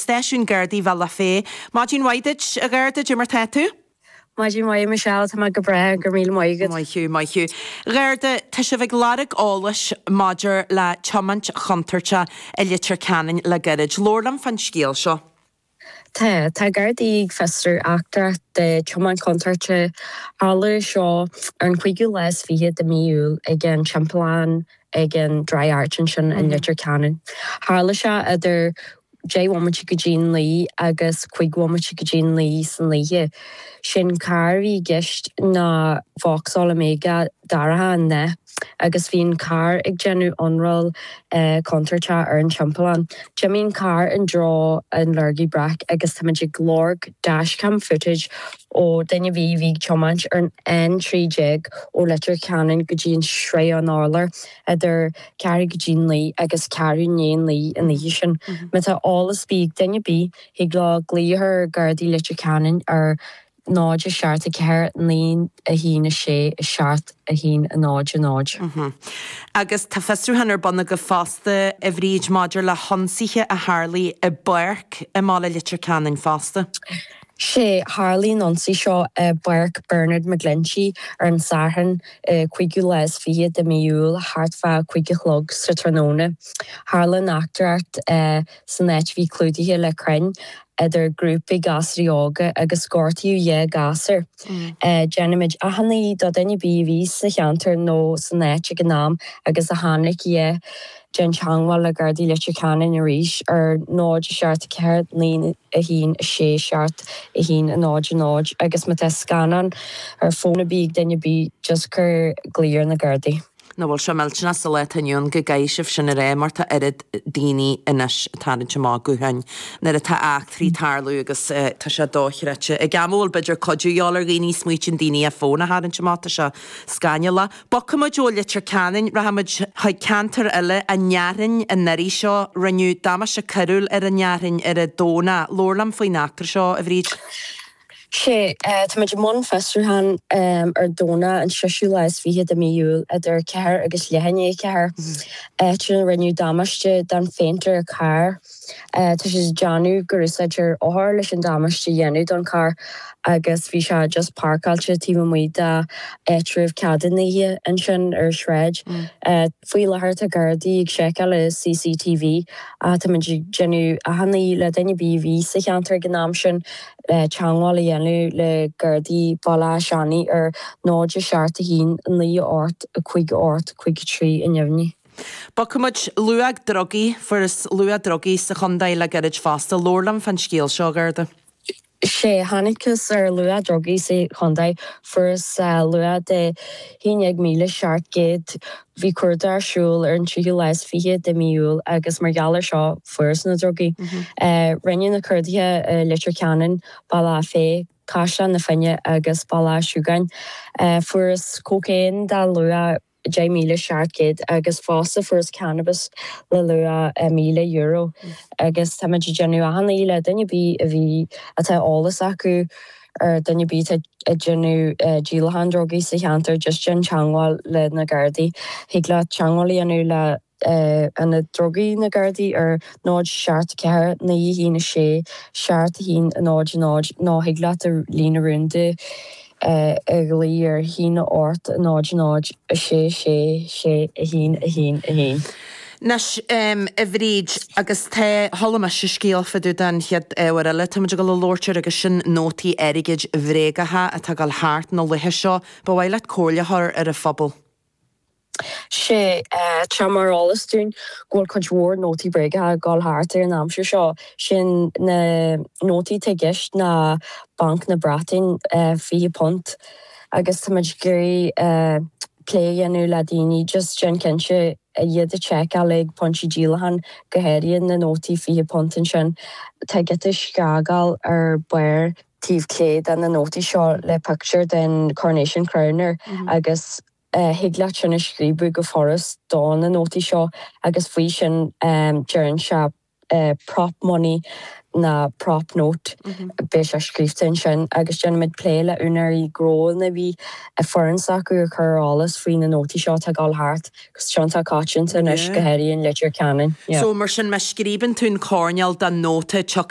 Stáisiún Gardaí Bhealach Féich. Maidin mhaith duit, a Gharda, cad é mar tá tú? Maidin mhaith, a Michelle, tá mé go breá, go raibh míle maith agat. Maith thú, maith thú. A Gharda, tá sibh ag lorg eolais maidir le tiomáint chontúirteach i Leitir Ceanainn le gairid. Labhair liom fán scéal seo. Tá. Tá Gardaí ag fiosrú eachtra de tiomáint chontúirteach. Tharla seo ar an chúigiú lá is fiche de mí Iúil ag an timpeallán ag an Dry Arch ansin i Leitir Ceanainn. Tharla sé idir 10 bhomaite go dtí 9 agus 5 bhomaite go dtí 9 san oíche. Sé'n carr a bhí i gceist ná Vauxhall Omega dorcha i ndath. agus bhí an carr ag déanamh ionramháil contúirteach ar an timpeallán. D'imigh an carr i dtreo an Lurgaí Breac agus táimid ag lorg dashcam footage ó duine ar bith a bhí ag tiomáint ar an N13 ó Leitir Ceanainn go dtí an Srath an Urláir idir ceathrú go dtí 9 agus ceathrú i ndiaidh 9 an oíche sin. Má tá eolas ar bith ag duine ar bith, thig leo glaoch ar Ghardaí Leitir Ceanainn ar 0 7 4 9 1 6 7 1 0 0. Agus tá fiosrúchán ar bun agaibh fosta, a Bhríd, maidir le hionsaithe a tharlaigh i bpáirc i mbaile Leitir Ceanainn fosta. Sea, tharlaigh an ionsaí seo i bPáirc Bernard McGlinchey ar an Satharn, 25ú lá de mhí Iúil, thart fá 5 a chlog sa tráthnóna. Tharla an eachtraíocht san áit a bhí clúdaithe le crainn idir grúpaí gasraí óga agus gortaíodh 2 ghasúr. Déanaimid achainí do duine ar bith a bhí sa cheantar nó san áit ag an am agus a chonaic a dhath, déan teagmháil le Gardaí Leitir Ceanainn arís ar 0 7 4 9 1 6 7 1 0 0 agus má tá scannán ar fón ar bith ag duine ar bith just cuir glaoch ar na Gardaí. Nach bhfuil sé millteanach sa lá atá inniu ann go gcaithfidh sibh sin a rá mar tá oiread daoine anois ag tarraingt amach gutháin nuair atá eachtraí ag tarlú agus tá sé dochreidte. Ag am a bhfuil b'fhéidir cuidiú a dhíobháil ar dhaoine, smaoitíonn daoine ar fón a tharraingt amach, tá sé scannalach. Bogfaimid ó Leitir Ceanainn, rachaimid chuig ceantar eile, an Fhearthainn, an iarraidh seo. Rinneadh damáiste coiriúil ar an Fhearthainn ar an Domhnach. Labhair liom faoin eachtra seo, a Bhríd. Sea, táimid i mbun fiosrúcháin ar Domhnach an seisiú lá is fiche de mí Iúil idir 4 agus leath i ndiaidh 4, áit ina rinneadh damáiste don phéint ar charr. Tá siad ag déanamh gur úsáideadh rothar leis an damáiste a dhéanamh don charr agus bhí sé just páirceáilte taobh amuigh d'áitreabh ceadúnaithe ansin ar sráid. Faoi láthair tá Gardaí ag seiceáil i CCTV ach táimid ag déanamh achainí le duine ar bith a bhí sa cheantar ag an am sin teagmháil a dhéanamh le Gardaí Bhaile Átha Seanaidh ar 0 7 1 9 8 5 8 5 3 i ndeimhní. Bogfaimid luach drugaí, fuarthas luach drugaí sa chontae le gairid fosta. Labhair liom fán scéal seo, a Gharda. Sea, thángthas ar luach drugaí sa chontae. Fuarthas luach de 11,700. Bhí cuardach ar siúl ar an tríú lá is fiche de mhí Iúil agus mar gheall air seo fuarthas na drugaí. Rinneadh na cuarduithe i Leitir Ceanainn, Bealach Féich, Caisleán na Finne agus Baile Átha Sluagáin. Fuarthas cócaon de luach 10,700 agus fosta fuarthas cannabas le luach €1,000 agus táimid ag déanamh achainí le duine ar bith a bhí, atá eolas acu ar duine ar bith atá ag déanamh díolachán drugaí sa cheantar just déan teagmháil le na Gardaí. Thig leat teagmháil a dhéanamh le Ionad Drugaí na Gardaí ar 0 7 4 9 1 6 7 1 0 0 nó thig leat an líne rúnda a ghlaoch ar 1 8 0 0 6 6 6 1 1 1. Anois, a Bhríd, agus tá, chuala mise scéal fá dtaobh den chéad ábhar eile táimid ag dul a labhairt air agus sin nótaí airgid bhréagacha atá ag dul thart na laetha seo. Ba mhaith leat comhairle a chur ar an phobal. Sea, tá mar eolas dúinn go bhfuil cuid mhór nótaí bréagacha ag dul thart ar an aimsir seo. Sin na nótaí atá i gceist ná Banc na Breataine, £20, agus táimid ag iarraidh plé a dhéanamh le daoine just déan cinnte iad a tseiceáil ag pointí díolacháin, go háirithe na nótaí £20 ansin. Tá giota scragaill ar barr taobh clé de na nótaí seo le pictiúr den Coronation Crown air agus thig leat sin a scríobadh go furast do na nótaí seo agus faoi sin deireann sé prop money ná prop note, beidh sé scríobhta ansin agus déanaimid plé le úinéirí gnóanna a bhí foireann s'acu a chur ar eolas faoi na nótaí seo atá ag dul thart agus tá iontach coitianta anois go háirithe in Leitir Ceanainn. So mar sin má scríobann tú an coirnéal den nóta tiocfaidh.